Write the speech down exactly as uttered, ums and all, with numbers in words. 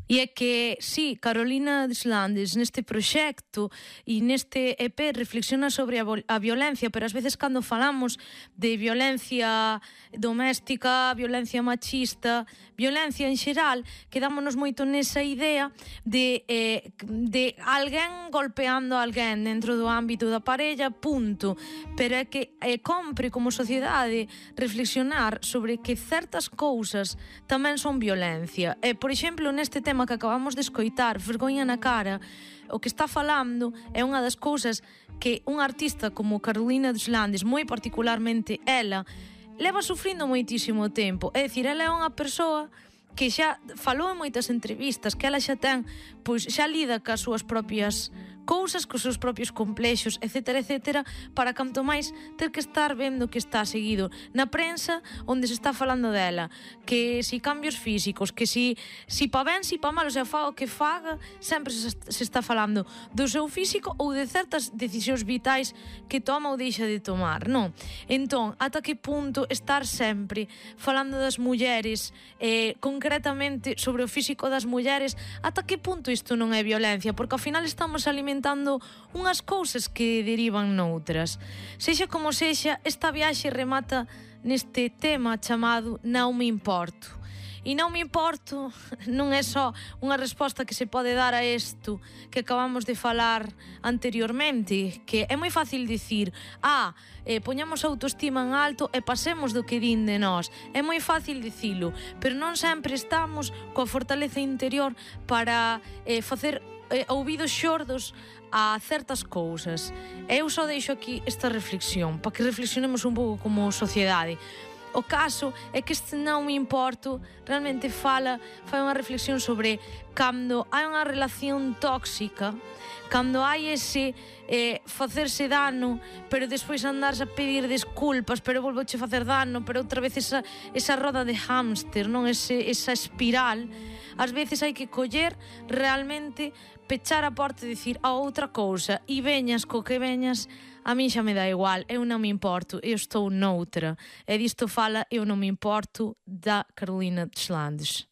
E é que, sí, Carolina Deslandes neste proxecto e neste E P reflexiona sobre a, a violencia, pero ás veces cando falamos de violencia doméstica, violencia machista, violencia en xeral, quedámonos moito nesa idea de, eh, de alguén golpeando a alguén dentro do ámbito da parella, punto. Pero é que é compre como sociedade reflexionar sobre que certas cousas tamén son violencia. E, por exemplo, neste tema que acabamos de escoitar, Vergoña na cara, o que está falando é unha das cousas que un artista como Carolina Deslandes, moi particularmente ela, leva sufrindo moitísimo tempo. É dicir, ela é unha persoa que xa falou en moitas entrevistas, que ela xa ten, pois xa lida cas súas propias cousas, cos seus propios complexos, etcétera, etcétera, para canto máis ter que estar vendo que está seguido na prensa onde se está falando dela, que si cambios físicos, que si, si pa ben, si pa mal, o sea, faga o que faga, sempre se, se está falando do seu físico ou de certas decisións vitais que toma ou deixa de tomar, non? Entón, ata que punto estar sempre falando das mulleres, eh, concretamente sobre o físico das mulleres, ata que punto isto non é violencia? Porque ao final estamos alimentando unhas cousas que derivan noutras. Sexa como sexa, esta viaxe remata neste tema chamado Non me importo. E non me importo non é só unha resposta que se pode dar a isto que acabamos de falar anteriormente, que é moi fácil dicir, ah, eh, poñamos a autoestima en alto e pasemos do que din de nós. É moi fácil dicilo, pero non sempre estamos coa fortaleza interior para eh, facer eh, ouvidos xordos a certas cousas. Eu só deixo aquí esta reflexión para que reflexionemos un pouco como sociedade. O caso é que este Non me importo realmente fala, fai unha reflexión sobre cando hai unha relación tóxica, cando hai ese eh, facerse dano, pero despois andarse a pedir desculpas, pero volvoche facer dano, pero outra vez esa, esa roda de hámster, non? Ese, esa espiral. Ás veces hai que coller realmente, pechar a porta e dicir a outra cousa, e veñas co que veñas, a min xa me dá igual, eu non me importo, eu estou noutra. E disto fala Eu non me importo, da Carolina Deslandes.